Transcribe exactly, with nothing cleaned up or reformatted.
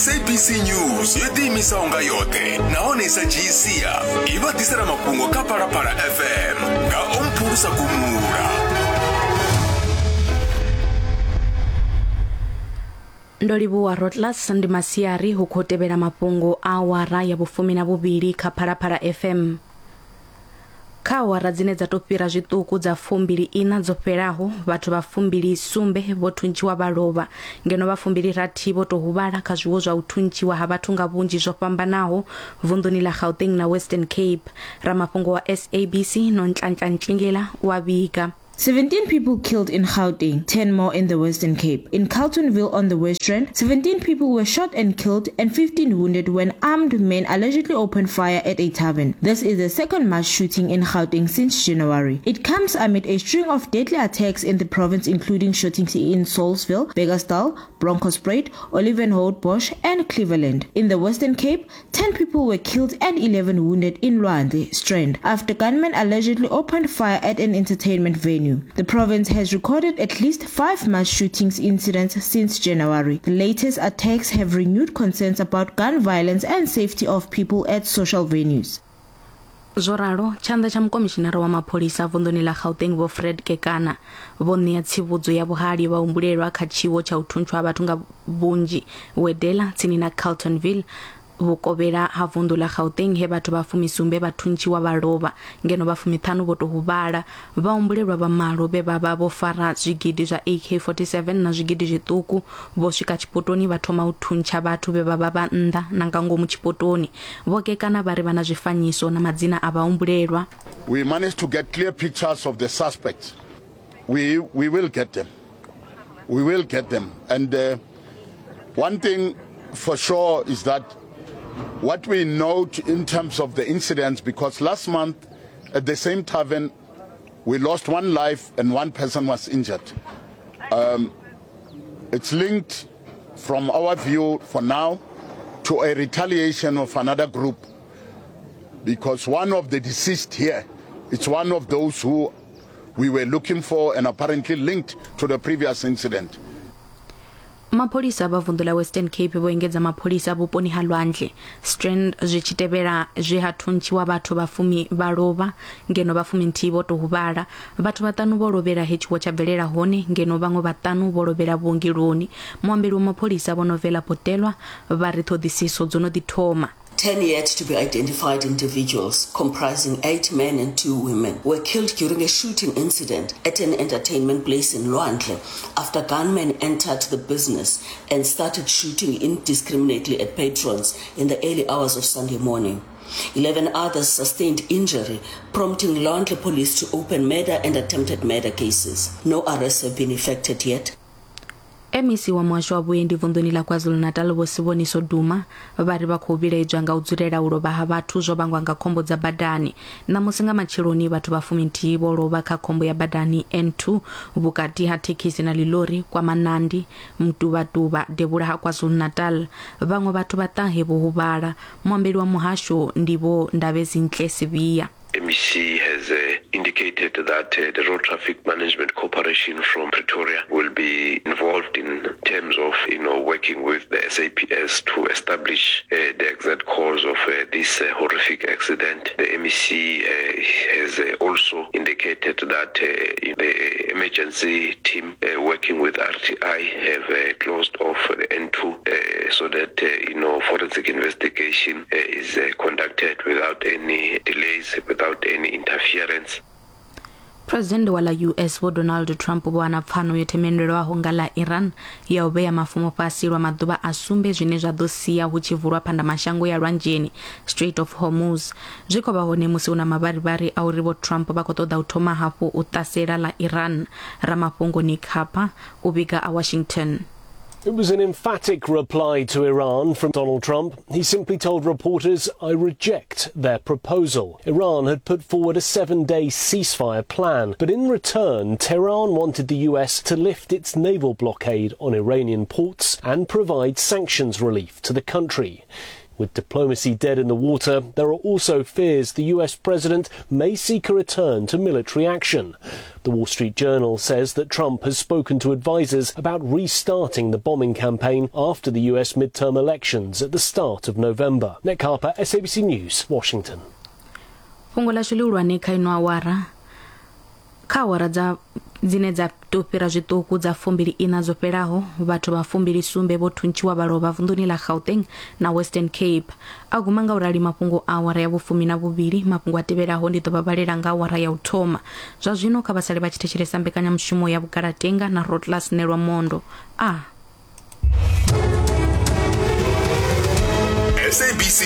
S A B C News yo ḓiimisaho nga yoṱhe nahone sa dzhii sia i vha ḓisela mafhungo kha Phalaphala F M nga Omphulusa Gumula. Ndo livhuwa Rotlas. Ndi masiari hu khou tevhela mafhungo a awara ya vhufumi na vhuvhili kha Phalaphala F M. Kha awara dzine dza tou fhira zwiṱuku dza fumbili ina dzo fhelaho, vhathu vha fumbili sumbe vho thuntshiwa vha lovha, ngeno vha fumbili rathi vho tou huvhala kha zwiwo zwa u thuntshiwa ha vhathu nga vhunzhi zwo fhambanaho vunḓuni ḽa Gauteng na Western Cape. Ramafhungo wa S A B C Nonhlanhla Ntlingela wa vhiga. seventeen people killed in Gauteng, ten more in the Western Cape. In Carltonville on the West Rand, seventeen people were shot and killed and fifteen wounded when armed men allegedly opened fire at a tavern. This is the second mass shooting in Gauteng since January. It comes amid a string of deadly attacks in the province, including shootings in Saulsville, Bekkersdal, Bronkhorstspruit, Olivenhout-Bosch and Cleveland. In the Western Cape, ten people were killed and eleven wounded in Lwandle Strand after gunmen allegedly opened fire at an entertainment venue. The province has recorded at least five mass shootings incidents since January. The latest attacks have renewed concerns about gun violence and safety of people at social venues. Zwo ralo, tshanḓa tsha mukomishinara wa mapholisa vunḓuni ḽa Gauteng Vho Fred Kekana vho ṋea tsivhudzo ya vhuhali vha humbulelwa kha tshiwo tsha u thuntshiwa ha vhathu nga vhunzhi Wedela tsini na Carltonville vhukovhela ha vunḓu ḽa Gauteng, he vhathu vha fumisumbe vha thuntshiwa vha lovha ngeno vha fumiṱhanu vho tou huvhala. Vha humbulelwa vha malo vhe vha vha vho fara zwigidi zwa A K forty-seven na zwigidi zwiṱuku vho swika tshipotoni vha thoma u thuntsha vhathu vhe vha vha vha nnḓa na nga ngomu tshipotoni. Vho Kekana vha ri vha na zwifanyiso na madzina a vhahumbulelwa. We managed to get clear pictures of the suspects. We we will get them. We will get them. And uh, one thing for sure is that what we note in terms of the incidents, because last month at the same tavern we lost one life and one person was injured. Um, it's linked, from our view for now, to a retaliation of another group, because one of the deceased here, it's one of those who we were looking for and apparently linked to the previous incident. Mapholisa vha vunḓu ḽa Western Cape vho engedza mapholisa vhuponi ha Lwandle Strand zwi tshi tevhela zwe ha thuntshiwa vhathu vha fumi vha lovha ngeno vha fumi nthihi vho tou huvhala. Vhathu vhaṱanu vho lovhela he tshiwo tsha bvelela hone ngeno vhaṅwe vhaṱanu vho lovhela vhuongeloni. Muambeli wa mapholisa Vho Novela Potelwa vha ri ṱhoḓisiso dzo no ḓi thoma. Ten yet to be identified individuals, comprising eight men and two women, were killed during a shooting incident at an entertainment place in Lwandle after gunmen entered the business and started shooting indiscriminately at patrons in the early hours of Sunday morning. Eleven others sustained injury, prompting Lwandle police to open murder and attempted murder cases. No arrests have been effected yet. M E C wa muhasho wa vhuendi vunḓuni ḽa KwaZulu-Natal Vho Siboniso Duma vha ri vha khou vhilaedzwa nga u dzulela u lovha ha vhathu zwo vhangwa nga khombo dza badani. Ṋamusi nga matsheloni vhathu vha fuminthihi vho lovha kha khombo ya badani N two vhukati ha thekhisi na ḽilori kwa Manandi Mtubatuba devhula ha KwaZulu-Natal. Vhaṅwe vhathu vha ṱahe vho huvhala. Muambeli wa muhasho ndi Vho Ndabezinhle Sibiya. M E C has uh, indicated that uh, the Road Traffic Management Corporation from Pretoria will be involved in terms of, you know, working with the S A P S to establish uh, the exact cause of uh, this uh, horrific accident. The M E C uh, has uh, also indicated that uh, the emergency team uh, working with R T I have uh, closed off the N two uh, so that, uh, you know, forensic investigation uh, is uh, conducted without any delays, without any interference. President wa ḽa U S Vho Donald Trump vho wana pfano yo themendelwaho nga ḽa Iran ya u vhea mafumo fhasi lwa maḓuvha a sumbe zwine zwa ḓo sia hu tshi vulwa phandamashango ya lwanzheni Strait of Hormuz. Zwi khou vha hone musi hu na mavharivhari a uri Vho Trump vha khou ṱoḓa u thoma hafhu u ṱasela ḽa Iran. Ramafhungo Nick Harper u vhiga a Washington. It was an emphatic reply to Iran from Donald Trump. He simply told reporters, "I reject their proposal." Iran had put forward a seven-day ceasefire plan, but in return, Tehran wanted the U S to lift its naval blockade on Iranian ports and provide sanctions relief to the country. With diplomacy dead in the water, there are also fears the U S president may seek a return to military action. The Wall Street Journal says that Trump has spoken to advisers about restarting the bombing campaign after the U S midterm elections at the start of November. Nick Harper, S A B C News, Washington. Fhungo ḽashu ḽihulwane kha ino awara kha awara dza dzine dza tou fhira zwiṱuku dza fumbili ina dzo fhelaho vhathu vha fumbili sumbe vho thuntshiwa vha lovha vunḓuni ḽa Gauteng na Western Cape. A guma nga u rali mafhungo a awara ya vhufumi na vhuvhili. Mafhungo a tevhelaho ndi ḓo vha vhalela nga awara ya u thoma. Zwa zwino kha vha sale vha tshi thetshelesa mbekanyamushumo ya Vhugalatenga na Rotlas Nelwa Mondo. A S A B C.